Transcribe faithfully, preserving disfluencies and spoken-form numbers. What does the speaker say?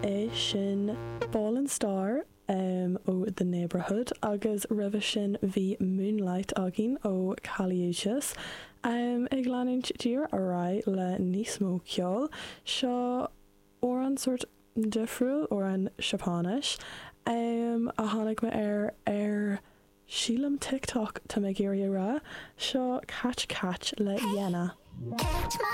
É sin Ballin' Star um, ó The Neighbourhood agus roimhe sin bhí Moonlight againn ó Kali Uchis. Um, ag leanúint díreach ar aghaidh le níos mó ceoil seo amhrán sórt difriúil amhrán Seapáinis um, a tháinig mé ar ar sílim TikTok tá mé ag iarraidh a rá seo Catch Catch le Yena. Catch my